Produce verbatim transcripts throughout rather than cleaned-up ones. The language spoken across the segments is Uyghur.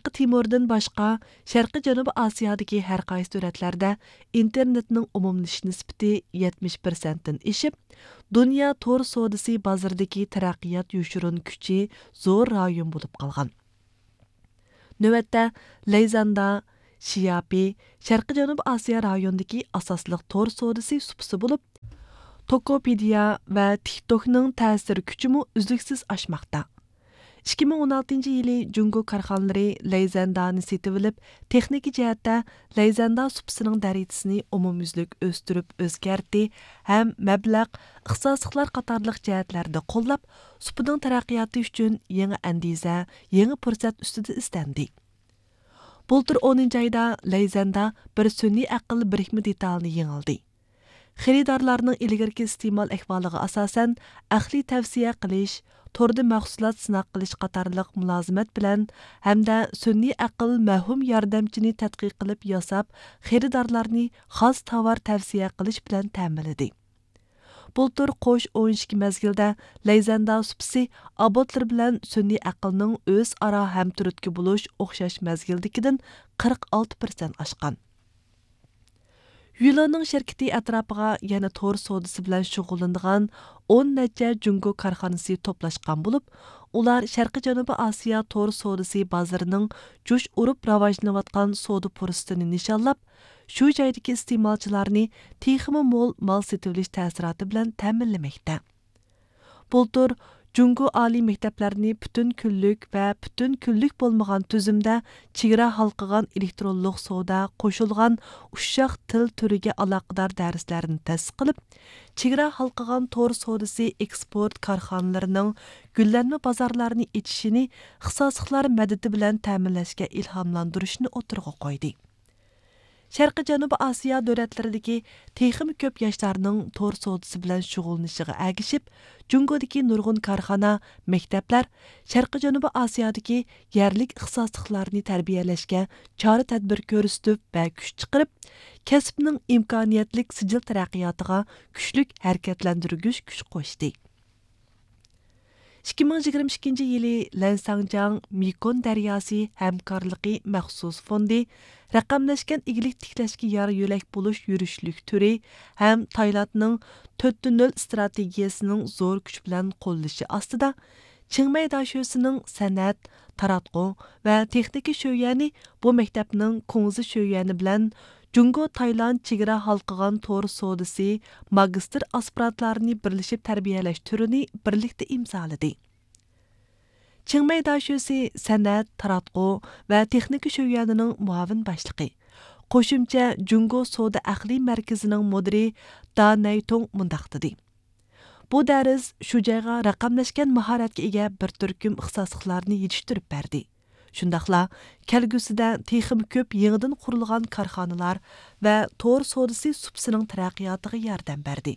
شەرقىي تىموردىن باشقا، شەرقىي جەنۇبىي ئاسىيادىكى ھەر قايسى دۆلەتلەردە ئىنتېرنېتنىڭ ئومۇملىشىش نىسبىتى يەتمىش پىرسەنتتىن ئېشىپ، دۇنيا تور سودىسى بازىرىدىكى تەرەققىيات يوشۇرۇن كۈچى زور رايون بولۇپ قالغان. نۆۋەتتە، لەيزاندا، شياپى، شەرقىي جەنۇبىي ئاسىيا رايونىدىكى ئاساسلىق تور سودىسى سۇپىسى بولۇپ، توكوپېدىيا ۋە تىكتوكنىڭ تەسىر كۈچىمۇ ئۈزلۈكسىز ئاشماقتا. ئىككى مىڭ ئون ئالتىنچى يىلى جۇڭگو كارخانىلىرى لەيزەندانى سېتىۋېلىپ، تېخنىكا جەھەتتە لەيزەندا سۇپىسىنىڭ دەرىجىسىنى ئومۇميۈزلۈك ئۆستۈرۈپ ئۆزگەرتتى ھەم مەبلەغ، ئىختىساسلىقلار قاتارلىق جەھەتلەردە قوللاپ، سۇپىنىڭ تەرەققىياتى ئۈچۈن يېڭى ئەندىزە، يېڭى پۇرسەت ئۈستىدە ئىزدەندى. بۇلتۇر ئونىنچى ئايدا لەيزەندە بىر سۈنئىي ئەقىل بىرىكمە دېتالىنى يېڭىلدى. خېرىدارلارنىڭ ئىلگىرىكى ئىستېمال ئەھۋالىغا ئاساسەن، ئەقلىي تەۋسىيە قىلىش، توردا مەھسۇلات سىناق قىلىش قاتارلىق مۇلازىمەت بىلەن ھەمدە سۈنئىي ئەقىل مەۋھۇم ياردەمچىنى تەتقىق قىلىپ ياساپ، خېرىدارلارنى خاس تاۋار تەۋسىيە قىلىش بىلەن تەمىنلىدى. بۇلتۇر قوش ئون ئىككى مەزگىلدە لەيزەنداۋ سۇپىسى ئابوتلىرى بىلەن سۈنئىي ئەقىلنىڭ ئۆزئارا ھەمتۈرتكە بولۇش ئوخشاش مەزگىلدىكىدىن قىرىق ئالتە پىرسەنت ئاشقان. يۈلىنىڭ شىركىتى ئەتراپىغا يەنە تور سودىسى بىلەن شۇغۇللىنىدىغان ئون نەچچە جۇڭگو كارخانىسى توپلاشقان بولۇپ، ئۇلار شەرقىي جەنۇبىي ئاسىيا تور سودىسى بازىرىنىڭ جۇش ئۇرۇپ راۋاجلىنىۋاتقان سودا پۇرسىتىنى نىشانلاپ، شۇ جايدىكى ئىستېمالچىلارنى تېخىمۇ مول مال سېتىۋېلىش تەسىراتى بىلەن تەمىنلىمەكتە. بۇلتۇر جۇڭگو ئالىي مەكتەپلەرنى پۈتۈن كۈنلۈك ۋە پۈتۈن كۈنلۈك بولمىغان تۈزۈمدە چېگرا ھالقىغان ئېلېكترونلۇق سودا قوشۇلغان ئۇششاق تىل تۈرىگە ئالاقىدار دەرسلەرنى تەسىس قىلىپ، چېگرا ھالقىغان تور سودىسى ئېكسپورت كارخانىلىرىنىڭ گۈللەنمە بازارلارنى ئېچىشىنى ئىختىساسلىقلار مەدىتى بىلەن تەمىنلەشكە ئىلھاملاندۇرۇشنى ئوتتۇرىغا قويدى. شەرقىي جەنۇبىي ئاسىيا دۆلەتلىرىدىكى تېخىمۇ كۆپ ياشلارنىڭ تور سودىسى بىلەن شۇغۇللىنىشىغا ئەگىشىپ، جۇڭگودىكى نۇرغۇن كارخانا، مەكتەپلەر شەرقىي جەنۇبىي ئاسىيادىكى يەرلىك ئىختىساسلىقلارنى تەربىيەلەشكە چارە-تەدبىر كۆرسىتىپ ۋە كۈچ چىقىرىپ، كەسىپنىڭ ئىمكانىيەتلىك سىجىل تەرەققىياتىغا كۈچلۈك ھەرىكەتلەندۈرگۈچ كۈچ قوشتى. ئىككى مىڭ يىگىرمە ئىككىنچى يىلى لەنساڭجياڭ مېكون دەرياسى ھەمكارلىقى مەخسۇس فوندى رەقەملەشكەن ئىگىلىك تىكلەشكە يار يۆلەك بولۇش يۈرۈشلۈك تۈرى ھەم تايلاندنىڭ تۆتتە نۆل ئىستراتېگىيەسىنىڭ زور كۈچ بىلەن قوللىشى ئاستىدا، چىڭمەي داشۆسىنىڭ سەنئەت، تاراتقۇ ۋە تېخنىكا شۆيۈەنى بۇ مەكتەپنىڭ كۇڭزى شۆيۈەنى بىلەن جۇڭگو تايلاند چېگرا ھالقىغان تور سودىسى ماگىستىر ئاسپىرانتلارنى بىرلىشىپ تەربىيەلەش تۈرىنى بىرلىكتە ئىمزالىدى. چىڭمەي داشۆسى سەنئەت، تاراتقۇ ۋە تېخنىكا شۆيۈەنىنىڭ مۇئاۋىن باشلىقى، قوشۇمچە جۇڭگو سودا ئەقلىي مەركىزىنىڭ مۇدىرى دا نەيتۇڭ مۇنداق دېدى: بۇ دەرس شۇ جايغا رەقەملەشكەن ماھارەتكە ئىگە بىر تۈركۈم ئىختىساسلىقلارنى يېتىشتۈرۈپ بەردى. شۇنداقلا كەلگۈسىدە تېخىمۇ كۆپ يېڭىدىن قۇرۇلغان كارخانىلار ۋە تور سودىسى سۇپىسىنىڭ تەرەققىياتىغا ياردەم بەردى.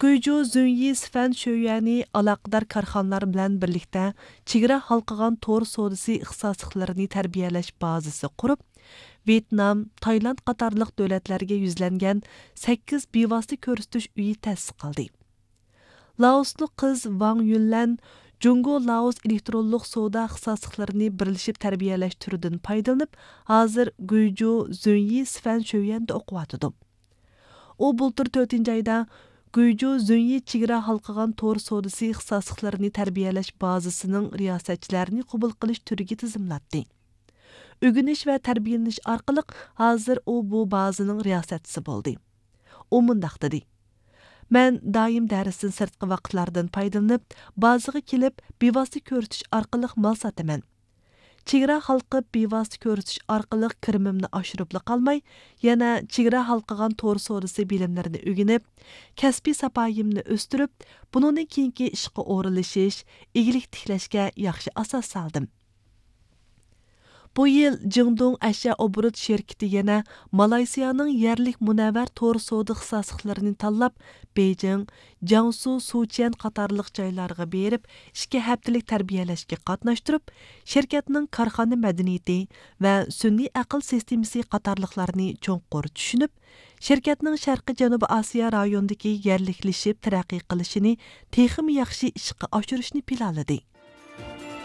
گۇيجۇ زۈنيى سىفەن شۆيۈەنى ئالاقىدار كارخانىلار بىلەن بىرلىكتە چېگرا ھالقىغان تور سودىسى ئىختىساسلىقلىرىنى تەربىيەلەش بازىسى قۇرۇپ، ۋيېتنام، تايلاند قاتارلىق دۆلەتلەرگە يۈزلەنگەن سەككىز بىۋاسىتە كۆرسىتىش ئۆيى تەسىس قىلدى. لائوسلۇق قىز ۋاڭ يۈنلەن جۇڭگو لائوس ئېلېكترونلۇق سودا ئىختىساسلىقلىرىنى بىرلىشىپ تەربىيەلەش تۈرىدىن پايدىلىنىپ، ھازىر گۇيجۇ زۈنيى سىفەن شۆيۈەندە ئوقۇۋاتىدۇ. ئۇ بۇلتۇر تۆتىنچى ئايدا گۇيجۇ زۈنيى چېگرا ھالقىغان تور سودىسى ئىختىساسلىقلىرىنى تەربىيەلەش بازىسىنىڭ رىياسەتچىلەرنى قوبۇل قىلىش تۈرىگە تىزىملاتتى. ئۆگىنىش ۋە تەربىيەلىنىش ئارقىلىق ھازىر ئۇ بۇ بازىنىڭ رىياسەتچىسى بولدى. ئۇ مۇنداق دېدى: مەن دائىم دەرستىن سىرتقى ۋاقىتلاردىن پايدىلىنىپ، بازىغا كېلىپ، بىۋاسىتە كۆرسىتىش ئارقىلىق مال ساتىمەن. چېگرا ھالقىپ، بىۋاسىتە كۆرسىتىش ئارقىلىق كىرىمىمنى ئاشۇرۇپلا قالماي، يەنە چېگرا ھالقىغان تور سودىسى بىلىملىرىنى ئۆگىنىپ، كەسپىي ساپايىمنى ئۆستۈرۈپ، بۇنىڭدىن كېيىنكى ئىشقا ئورۇنلىشىش، ئىگىلىك تىكلەشكە ياخشى ئاساس سالدىم. بۇ يىل جىڭدۇڭ ئەشيا ئوبوروت شىركىتى يەنە مالايسىيانىڭ يەرلىك مۇنەۋۋەر تور سودا ئىختىساسلىقلىرىنى تاللاپ، بېيجىڭ، جياڭسۇ سۇچيەن قاتارلىق جايلارغا بېرىپ، ئىككى ھەپتىلىك تەربىيەلەشكە قاتناشتۇرۇپ، شىركەتنىڭ كارخانا مەدەنىيىتى ۋە سۈنئىي ئەقىل سىستېمىسى قاتارلىقلارنى چوڭقۇر چۈشىنىپ، شىركەتنىڭ شەرقىي جەنۇبىي ئاسىيا رايونىدىكى يەرلىكلىشىپ تەرەققىي قىلىشىنى تېخىمۇ ياخشى ئىشقا ئاشۇرۇشنى پىلانلىدى.